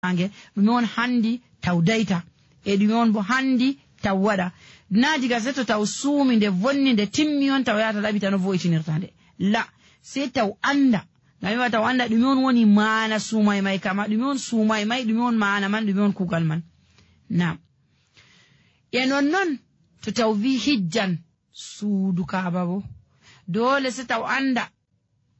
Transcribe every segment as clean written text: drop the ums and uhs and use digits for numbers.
ange ɗume on handi taw dayta e ɗume on bo handi taw waɗa na diga seto taw suumi nde vonni nde timmi on taw yata ɗaɓita no vo'itinirta nde la sei taw anda ngam wi'a taw anda ɗume on woni maana suumay may kama ɗume on suumay may ɗume on maana man ɗume on kugal man nam e nonnon to taw wi hijjan suudu kaaba bo dole se taw anda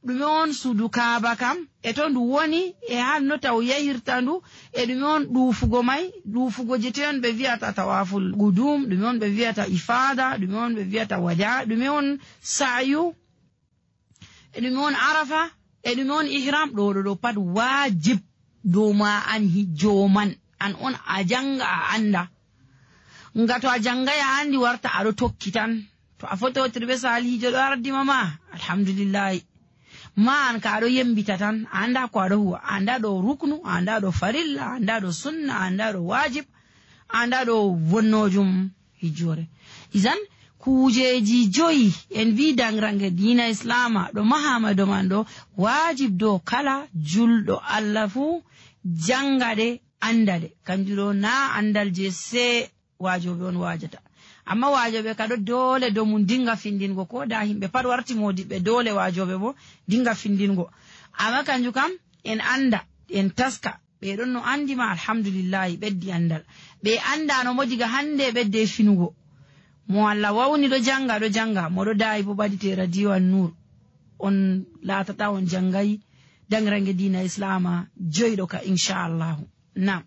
ɗume on suudu kaaba kam e to ndu woni e hanno taw yahirta ndu e ɗume on ɗuufugo may ɗuufugo je to on ɓe wiyata tawaful gudum ɗume on ɓe wiyata ifada ɗume on ɓe wiyata wada ɗume on sa'yu e ɗume on arafa e ɗume on ihram ɗo pat wajib dow ma an hijjo man an on a janga a anda nga to a jangay a andi warta aɗo tokki tan to a fototiri ɓe salihijo ɗo ardima ma alhamdulillahi ma an ka aɗo yembita tan a anda ko aɗo huwa a anda ɗo ruknu a anda ɗo farilla a anda ɗo sunna a anda ɗo wajib a anda ɗo wonnojum hijjore isan kujeji joyi en wi dangrange dina islama ɗo mahama do man ɗo wajib dow kala julɗo Allah fuu jangaɗe andade kanjuɗo na andal je se wajoɓe on wajata amma wajoɓe kaɗo dole dow mum dinga findingo ko da himɓe pat warti modiɓɓe dole wajoɓe bo dinga findingo amma kanju kam en anda en taska ɓe ɗon no andima alhamdulillahi ɓeddi andal ɓe andano mo diga hande ɓedde finugo mo Allah wawni ɗo janga moɗo dayi bo ɓaɗite radio an nur on latata on jangayi dangrange dina islama joyɗo ka inchallahu nam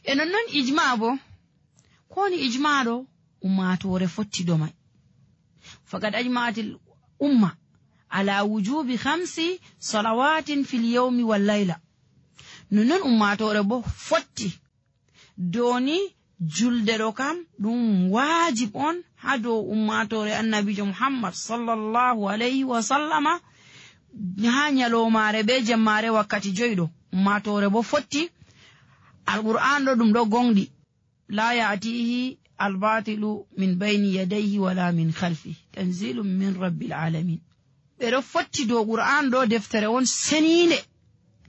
e nonnon ijma bo koni ijma ɗo ummatore fottido may faqad ajma'atil umma ala wujubi 5 salawatin fil yawmi wal layla nonnon ummatore bo fotti doni julde ɗo kam ɗum wajib on ha dow ummatore annabijo muhammad sallallahu alayhi wa sallama ha nyalomare be jemmare wakkati joyɗo ummatore bo fotti alqur'an ɗo ɗum ɗo gonɗi la ya'tihi albatilu min bayni yadayhi wala min khalfi tanzilum min rabbil alamin ɓeɗo fotti dow qur'an ɗo deftere on seninde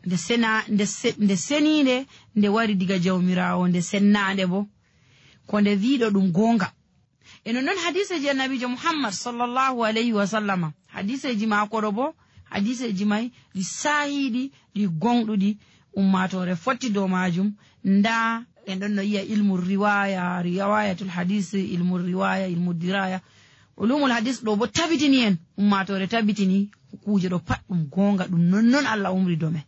nde seninde nde wari diga jawmirawo nde sennande bo ko nde wiɗo ɗum gonga e non hadiseji annabijo muhammad sallallahu alayhi wa sallama hadiseji mako ɗo bo hadiseji may ɗi sahiɗi ɗi gonɗuɗi ummatore fotti dow majum nda en ɗon no yiya ilmu riwaya riwayatul hadis ilmu riwaya ilmu diraya ulumul hadis ɗo bo tabitini en ummatore tabitini kuje ɗo pat ɗum gonga ɗum nonnon Allah umri do men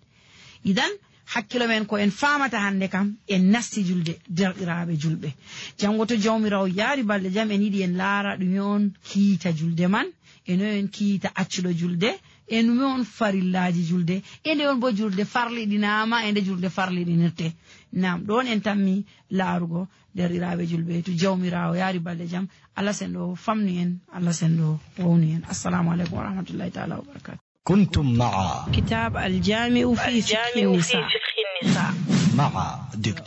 idan hakkilo men ko en famata hande kam en nasti julde derɗiraɓe julɓe jango to jawmirawo yaari balɗe jam en yiɗi en laara ɗume on kiita julde man e no en kiita accuɗo julde e ɗume on farillaji julde e nde on bo julde farliɗinama e nde julde farliɗinirte nam ɗon en tammi laarugo derɗiraɓe julɓe to jawmirawo yaari balɗe jam Allah senɗo famni en Allah senɗo wowni en assalamu aleykum wa rahmatullahi taala wa barakatuh. كنتم مع كتاب الجامع في فقه النساء مع دكتور